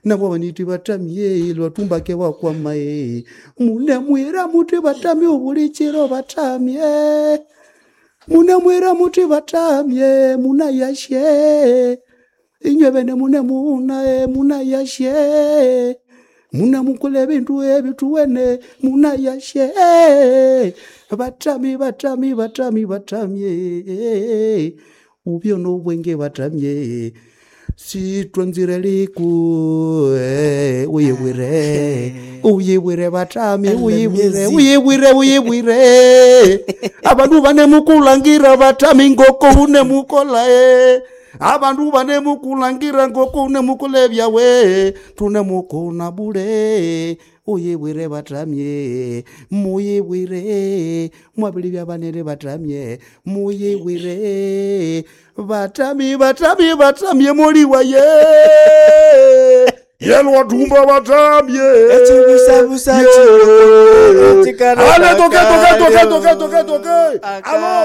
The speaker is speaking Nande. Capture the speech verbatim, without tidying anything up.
Nabo baniti batamye lwatumbake wakwama mune mwira muti batamye obulichiro batamye mune mwira muti batamye munayashe inywe bene mune muna munayashe mune mukule ebindu ebituwene munayashe batami batami batami batamye ubyo nobwenge batamye sitwanzire liku eh, uyibwire uyibwire batami uyibwire uyibwire uyibwire abandu banemukulangira batami ngoko unemukola eh. Abandu banemukulangira ngoko unemukola ebyawe tunemukuna bule uyibwire batamye muyibwire mwabili byabanene batamye muyibwire batami batami batamye muli waye yelwatumba batamye Echibusabusa Ye. chikana Ale, toke, toke, toke, kakayo. toke, toke, toke. Alo.